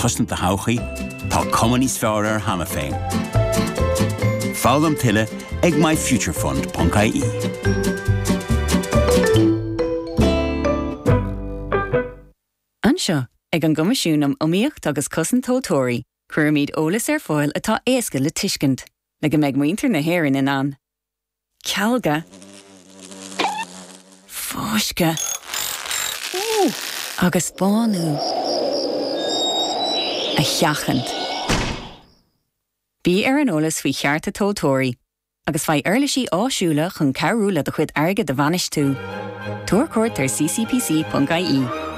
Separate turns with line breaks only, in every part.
cosaint do thodhchaí, tá cuma níos fearr air cheana féin. Foghlaim tuilleadh ag myfuturefund.ie.
Anseo, ag an gCoimisiún um Iomaíocht agus Cosaint Tomhaltóirí, cuirimid eolas ar fáil atá éasca le tuiscint, le go mbeidh muintir na hÉireann in ann cealga, fáisceadh agus bánú a sheachaint. Bí ar an eolas faoi chearta tomhaltóirí agus faigh uirlisí áisiúla chun cabhrú le do chuid airgid a bhainistiú. Tabhair cuairt ar ccpc.ie.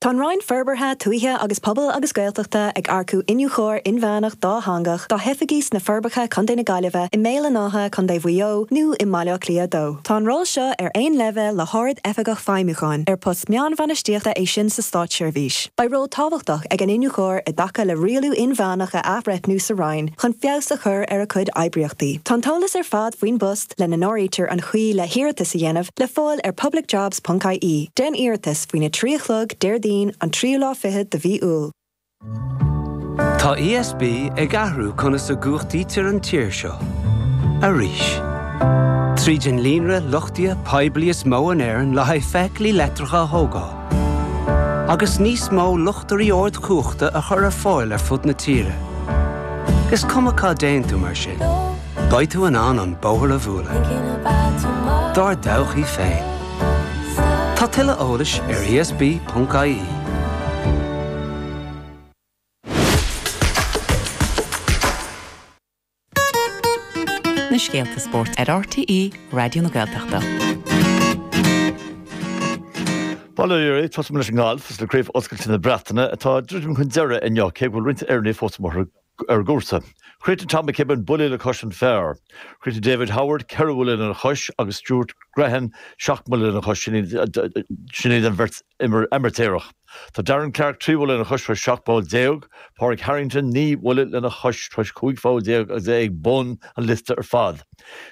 Tá an Roinn Forbartha Tuaithe agus Pobail agus Gaeltachta ag earcú Iniúchóir Inmheánach dátheangach dá hoifigí sna Forbacha, Co. na Gaillimhe, i mBéal an Átha, Co. Mhaigh Eo, nó i mBaile Átha Cliath 2. Tá an ról seo ar aon leibhéal le hArd-Oifigeach Feidhmiúcháin, ar post meánbhainistíochta é sin sa Státseirbhís. Beidh ról tábhachtach ag an Iniúchóir i dtaca le rialú inmheánach a athbhreithniú sa Roinn chun feabhas a chur ar a cuid oibríochtaí. Tá an t-eolas ar fad faoin bpost, lena n-áirítear an chaoi le hiarratas a dhéanamh, le fáil ar publicjobs.ie. Déan iarratas faoina 3 a chlog, Déardaoin, an tríú lá fichead de mhí Iúil.
Tá ESB ag athrú conas a gcumhachtaítear an tír seo. Arís. Tríd an líonra luchtaithe poiblí is mó in Éirinn le haghaidh feithiclí leictreacha a thógáil. Agus níos mó luchtairí ardchumhachta a chur ar fáil ar fud na tíre. Is cuma cá dtéann tú mar sin. Beidh tú in ann an bóthar a bhualadh. Dár dtodhchaí féin. Tá tuilleadh eolais ar esb.ie.
Na scéalta spóirt ar RTÉ Raidió na Gaeltachta.
Bail ó Dhia oraibh, tosóidh muid leis an ngalf is le Craobh Oscailte na Breataine atá ag druidim chun deiridh inniu, cé go bhfuil roinnt fhoirne fós amuigh ar ar an gcúrsa. Chríochnaigh Tom McKibbin buille le cois an phar. Chríochnaigh David Howard 4 bhuille lena chois agus Stuart Grehan 7 mbuille lena chois, sin iad an bheirt amaitéarach. Tá Darren Clarke 3 bhuille lena chois tar éis 17 poll, Pádraig Harrington 9 bhuille lena chois tar éis 15 pholl agus é ag bun an liosta ar fad.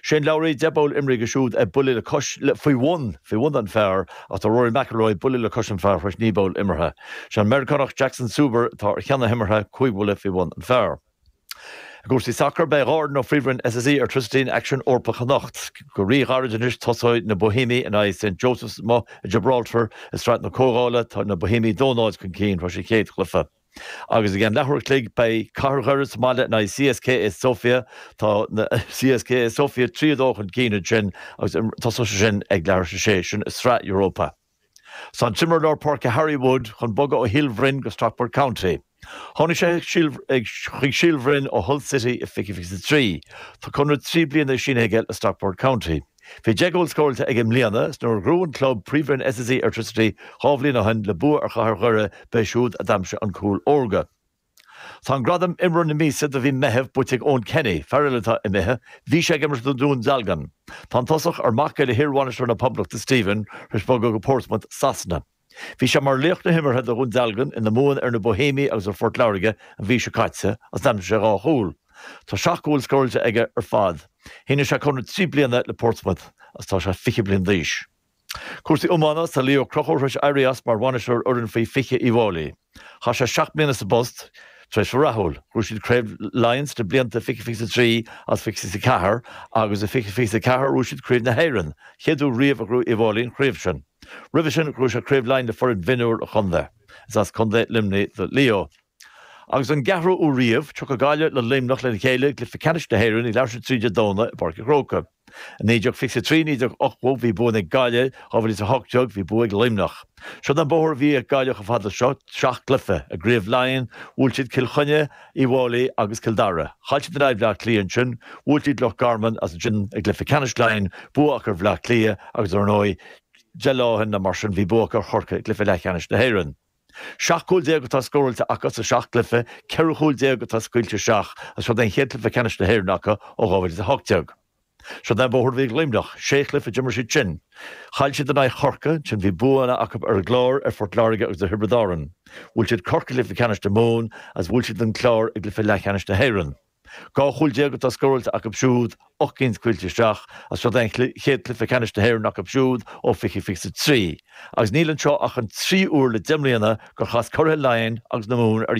Shane Lowry, 10 bpoll imeartha aige siúd ag buille le cois, faoi bhun, faoi bhun an phar ach tá Rory McIlroy buille le cois an phar tar éis 9 bpoll imeartha. Sé an Meiriceánach Jackson Suber atá ar cheann na himeartha, 5 bhuille faoi bhun an phar. I gcúrsaí sacair, beidh 2 fhoireann ó Phríomhroinn SSE Airtricity in aicsean Eorpach anocht. Go ríghairid anois tosóidh na Boihéimigh in aghaidh St Joseph's amuigh i Gibraltar i Sraith na Comhdhála. Tá na Boihéimigh 2-0 chun cinn tar éis an chéad chluiche. Agus i gceann leathuair a chloig beidh Cathair Dhoire sa mbaile in aghaidh CSKA Sofia. Tá na CSKA Sofia 3-2 chun cinn ansin agus tosóidh sé sin ag leathuair tar éis a sé, sin i Sraith Europa. Tá an t-imreoir lár páirce Harry Wood chun bogadh ó Shíol Bhroin go Stockport County. Tháinig sé chuig Síol Bhroin ó Hull City i 2023. Tá conradh 3 bliana sínithe aige le Stockport County. Bhí 10 gcúl scóráilte aige i mbliana is nuair a ghnóthaigh an club Príomhroinn SSE Airtricity 2 bhliain ó shin le bua ar Chathair Dhoire b'é siúd a d'aimsigh an cúl órga. Tá an gradam Imreoir na Míosa do mhí Meitheamh buaite ag Eoin Kenny, fear eile atá imithe, bhí sé ag imirt do Dhún Dealgan. Tá an tosach, ar mac é le hiarbhainisteoir na Poblachta, Stephen, tar éis bogadh go Portsmouth, Sasana. Bhí sé mar laoch na himeartha do Dhún Dealgan ina mbuanna ar na Boihéimigh agus ar Phort Láirge an mhí seo caite agus d'aimsigh sé 2 chúl. Tá 7 gcúl scóráilte aige ar fad. Shínigh sé conradh 3 bliana le Portsmouth agus tá sé 20 bliain d'aois. Cúrsaí iomána, Tá Leo Ó Conchúir tar éis éirí as mar bhainisteoir fhoireann faoi 20 Uíbh Fhailí. Chaith sé 7 mbliana sa bpost, tréimhse rathúil. Ghnóthaigh siad Craobh Laighean sna blianta 2023 agus 2024 agus i 2024 ghnóthaigh siad Craobh na hÉireann, chéad uair riamh a ghnóthaigh Uíbh Fhailí an chraobh sin. Roimhe sin, ghnóthaigh sé Craobh Laighean le foireann mhionúir an chontae. Is as Contae Luimnigh do Leo. Agus don gceathrú uair riamh, tiocfaidh Gaillimh le Luimneach lena chéile i gcluiche ceannais na hÉireann ag leathuair tar éis a 3 Dé Domhnaigh i bPáirc an Chrócaigh. I 1923, 1980 bhí bua ag Gaillimh, 2018 bhí bua ag Luimneach. Siod an bóthar a bhí ag Gaillimh chomh fada seo, seacht gcluiche. I gCraobh Laighean, bhuail siad Cill Chainnigh, Uíbh Fhailí agus Cill Dara. Chaill siad in aghaidh Bhaile Átha Cliath ansin, bhuail siad Loch Garman agus ansin i gcluiche ceannais Laighean, bua acu ar Bhaile Átha Cliath agus ar ndóigh, 10 lá ó shin nó mar sin bhí bua acu ar Chorcaigh i gcluiche leathcheannais na hÉireann. 17 cúl atá scóráilte acu sa seacht gcluiche, 14 chúl atá scaoilte isteach agus seo é an chéad chluiche ceannais na hÉireann acu ó 2018. Siod é an bóthar a bhí ag Luimneach, sé chluiche a d'imir siad sin. Chaill siad in aghaidh Chorcaí, ansin bhí buanna acu ar an gClár, ar Phort Láirge agus ar Thiobraid Árann. Bhuail siad Corcaigh i gcluiche ceannais na Mumhan agus bhuail siad an Clár i gcluiche leathcheannais na hÉireann. 12 chúl atá scóráilte acu siúd, 8 gcinn scaoilte isteach, agus seo é an chéad chluiche ceannais na hÉireann acu siúd ó 2023. Agus níl anseo ach an tríú huair le 10 mbliana gur chas curaithe Laighean agus na Mumhan ar a.